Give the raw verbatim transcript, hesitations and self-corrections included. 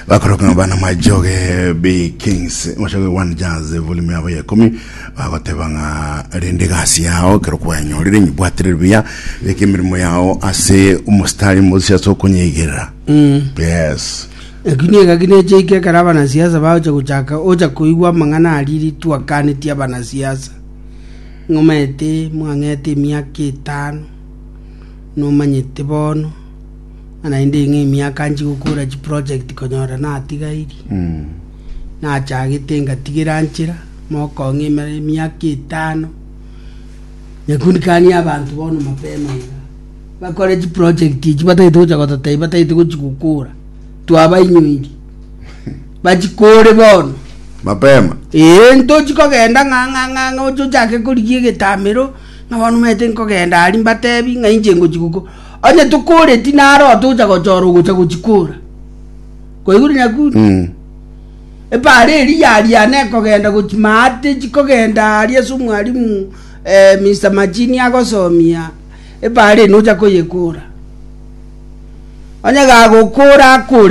Bakoroka ng'a bana Majoge B Kings Majoge One Jazz volume yabo ya ikomi bagoteba ng'a rende gasi yao kero kwanyorire nyibwatire buya beka emirimo yao ase omostari mosi ase okonyeigerera. Yes. Lakini egaki necheike ekero abanasiasa bagocha gochaka ocha koigwa amang'ana aria twakanetie abanasiasa ng'omaete mwang'ete emiaka etano nomanyete bono ng'a naende ng'a emiaka nchi gokora chiproject konyora natigairi nachagete ngatigera nchera mokong'a emere emiaka etano nyakundikani abanto bono mapema iga bakore chiproject echi batagete gocha gototebia batagete gochi gokora twabainyoiri bachikore bono. Mapema. Ee, ntochi kogenda ng'a ng'a ng'a ng'a oche ochake korigia egetamero, ng'a bono omanyete nkogenda aria mbatebi ng'a inche ngochi goko. Onye tokoreti naro togocha gochora ogocha gochikora. Kwaigure nyakundi? Mm. Epaara eria yariana ekogenda gochi maate chikogenda aria ase omwalimu eh, Mr. Machini agosomia, epaara eye nocha koyekora. Onye gagokora akore.